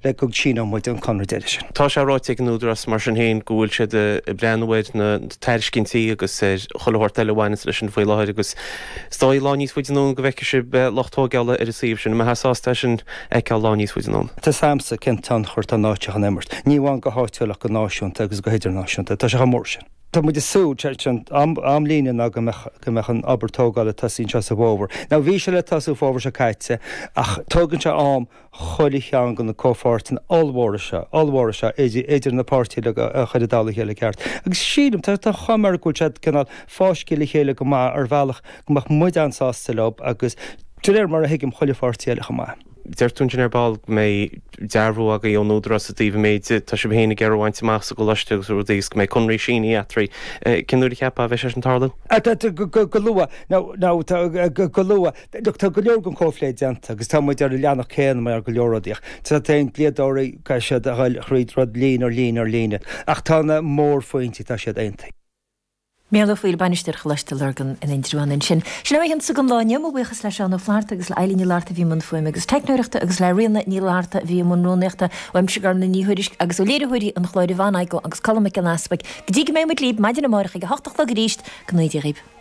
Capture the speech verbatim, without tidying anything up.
le go síneoidh muid an conradh deiridh sin. Tá sé ráite ag an Údarás mar sin féin go bhfuil siad ag breathnú ar na tairiscintí agus ar chuile shórt eile a bhaineanns leis sin faoi láthair agus is dóigh lá níos faide anonn go bhfeicfidh sibh lucht tógála ar an suíomh sin. An mbeifeá sásta é sin a fheiceáil lá níos faide anonn? Tá 's a'msa cén tionchar atá an áit seo chun imirt, ní amháin go háitiúil ach go náisiúnta agus go hidirnáisiúnta. Tá sé chomh mór sin. Tá muid ag súil, sé an amlíne ná go mbeadh go mbeadh an obair tógála ag tosaí anseo sa bhfómhar. Now bhí sé le tosú fómhar seo caite ach tógann sé am chuile cheann de na comhpháirteanna ollmhóra seo, ollmhóra seo idir idir na páirtithe a chur i dtoll a chéile ceart. Agus sílim, tá tá chuma air go bhfuil siad cineál fáiscthe le chéile go maith ar bhealach go mbeadh muid an-sásta leo agus de réir mar a thuigim chuile pháirtí eile chomh maith. Deir tú ansin ar ball go mbeidh dearbhú agaibh ón Údarás i dtaobh an méid atá sibh féin ag iarraidh a bhaint amach sa gcoláiste agus rudaí agus go mbeidh conraí sínithe eatarthu. Cén uair a cheapfá a bheidh sé sin tarlú? Go luath. Now, now, go luath. Look, tá go leor den chomhphlé déanta agus tá muid ar an leathanach céanna mar go leor rudaí ach tá na dlíodóirí caithfidh siad a dhul thríd rud líne ar líne ar líne ach tá na mórphointí, tá siad aontaithe. Micheál Ó Foighil, Bainisteoir Choláiste Lurgan in Indreabhán ansin. Sin é an don lá inniu, mo bhuíochas le Seán Ó Flatharta agus le Eilín Ní Fhlatharta a bhí i mbun fuaime agus teicneoireachta agus le Ríona Ní Fhlatharta a bhí i mbun rúnaíochta, uaimse Gormlaith Ní Thuairisg agus ó léiritheoirí an chláir Yvonne Igoe agus Colm Mac Giolla Easpaig. Go dtí go mbeidh muid libh maidin amárach ag a hocht a chlog arís, go ngnóthaí Dia dhaoibh.